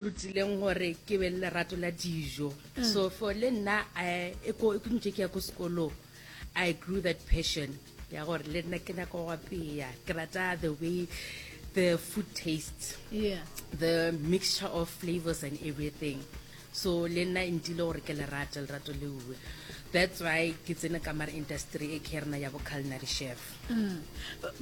Rutileng gore ke be le lerato la dijo. So for le nna I e ko e ntše ke ya ko sekolong I grew that passion ya gore le nna ke nyaka go apea. Ke rata the way the food tastes. Yeah. The mixture of flavors and everything. So le nna e ntile gore ke le rate lerato leuwe. That's why ke tsene ka mara industry e ke ya rena ya bo culinary chef.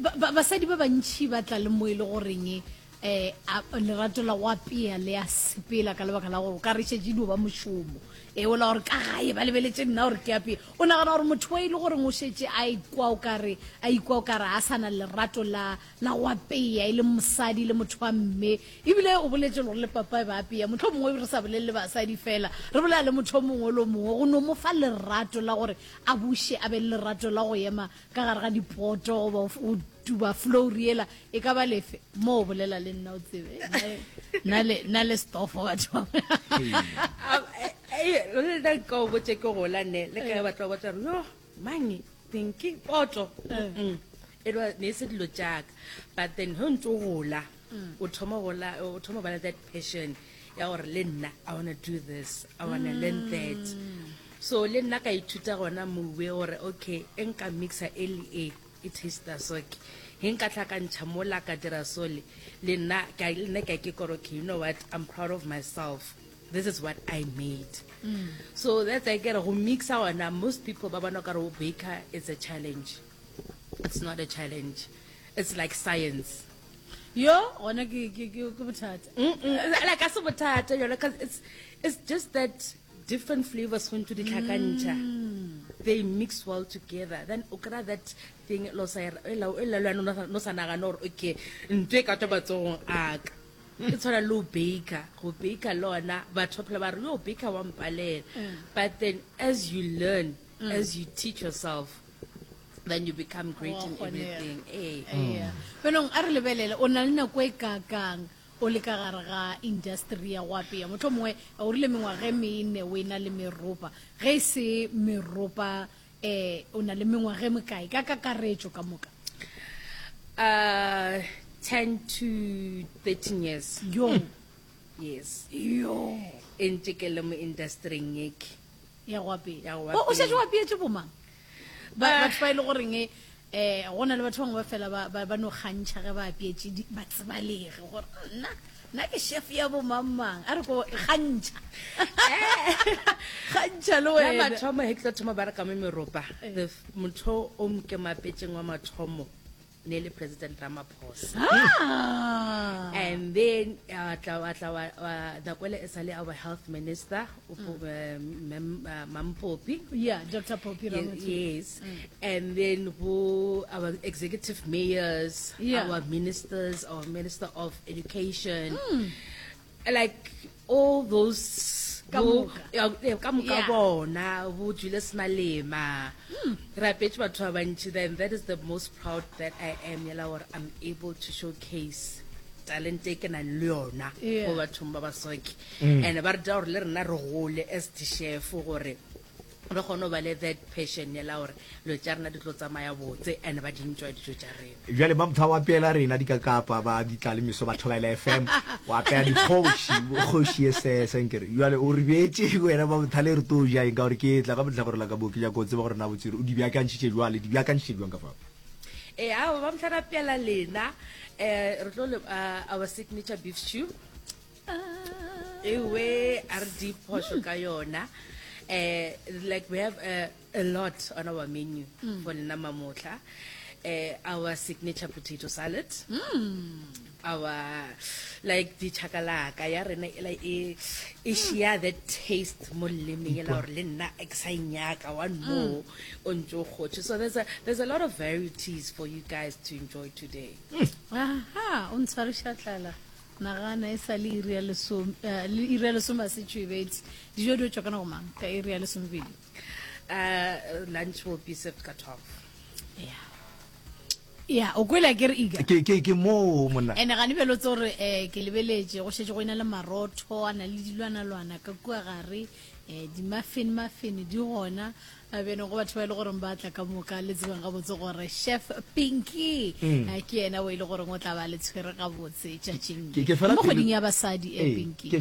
Ba, ba, basadi ba bantši ba tla le mo e le goreng um a lerato la go apea le a sepela ka lebaka la gore o ka re šetše dio ba mošomo e ola gore ka gae ba lebeletše nna gore ke apee o nagana gore motho wa e le goreng o šetše a ikwa o kare a ikwa o kare a sa na lerato la la go apea e le mosadi le motho wa mme ebile o boletše le gore le papa e ba apea motlho mongwe re sa bolele le basadi fela re bolela le motho o mongwe le o mongwe go no mo fa lerato la gore a buše a be le lerato la go ema ka gare ga dipoto goba o tuba flour yela e ka ba lefe mo o bolela le nna o tsebe nna le stofo batho le nna nka o botse ke gola ne le ka batho ba botsa gore yo mange thinki poto mm. e ne e se dilo jaaka but then ge o ntse o gola mm. o thoma gola o thoma ba le that passion ya gore le nna i wanna do this i wanna learn that mm. So le nna ka ithuta gona mowe gore okay e nka mixa e le e e taster so ke he nka tlhakantšha mola ka dira sole le nna ka le nna ka ke kore okay you know what I'm proud of myself this is what I made mm. so that's I get go mixa gona most people ba bona kare go baker it's a challenge it's not a challenge it's like science yo gona ke ke ke bothata like a se bothata yona cause it's it's just that Different flavors go ntse di tlhakantšha they mix well together then o kry that thing lo sa e la e la no sa nagana gore okay ntho e ka tswa matsogong a ka e tshwana le o baker go baker le ona batho ba phela ba re yo baker wa mpalela but then as you learn as you teach yourself then you become great in everything ee Benong a re lebelele o na le nako e kakang O le ka gare ga industry ya go apea, mohlomongwe o rile mengwaga e mene o e-na le meropa. Ge e se meropa, um o na le mengwaga e mekae ka kakaretšo ka moka? Uh, 10 to 13 years. Yo. Yes. Yo. E ntše ke le mo industryng ye ke. Ya go apea. Ya go O šetše o apeetše bomang? Ba, ah. batho ba e le goreng um go na le batho bangwe ba fela ba no kgantšha ge ba apeetše ba tsebalege gore nna nna ke chef ya bomangmang a re ko kgantšha kgantšha le wena mathomo he ke tlo thoma ba re ka mo meropa eh. motho o ke mapetseng wa mathomo ne le President Ramaphosa. Ah. And then uh, tla wa tla wa nako ele e sale our health minister mm. um, uh, Mampopi. Yeah, Dr. Popi Ramathuba. Yes. Mm. And then who our executive mayors, yeah. our ministers, our minister of education. Mm. Like all those Ka bo- moka. ya, eh, ka moka Yeah. bona bo Julius Malema re apetše batho ba bantši then that is the most proud that I am yela gore I'm able to showcase talente e ke nang le yona Yeah. go bathong ba basoke and ba re dira gore le rena re gole as di-chef gore re kgone go ba le that passion yela gore dilo tša rena di tlo tsamaya botse and ba di enjoy dijo tša rena. Bjale Mamtha o apeela rena dikakapa ba ditlalemeso ba Thobela FM, o apea dikgoši, kgoši ye sese nkere. Bjale o re beetše wena Mamtha le re tlo ja eng ka gore ke tla ka mohlakore la ka mo ke nyaka go tseba gore na botse o di beakantšhitše jwale, di beakantšhitše bjang ka fao. Ee, aowa Mamtha re apeela lena, eh, re tlo le, uh, our signature beef stew. Ewe a re di phošo ka yona eh like we have a, a lot on our menu mm. for lena mamotla eh our signature potato salad mm. our like di chakalaka ya rena e like e e share that taste mo lelemeng e la gore le nna ke sa e nyaka one more o ntse o kgotse so there's a there's a lot of varieties for you guys to enjoy today aha o ntshwariša tlala Nagana e sa le iri ya lesome, eh, le iri ya lesome a setšo e betse. Dijo di tšwa ka nako mang? Ka iri ya lesomepedi. Uh, lunch will be served ka 12. Yeah. Ya, o kwele ke re iga. Ke ke ke mo monna. Ene gane bjalo tse gore eh ke lebeletše go šetše go ena le marotho a na le dilwanalwana ka kua gare. Um di-muffin muffin di gona. Bjano go batho ba e le goreng ba tla ka moka, le tsebeng gabotse gore Chef Pinky mm. ke yena o e le goreng o tla ba le tshwere gabotse tšatšing le mo kgweding ya basadi e Pinky.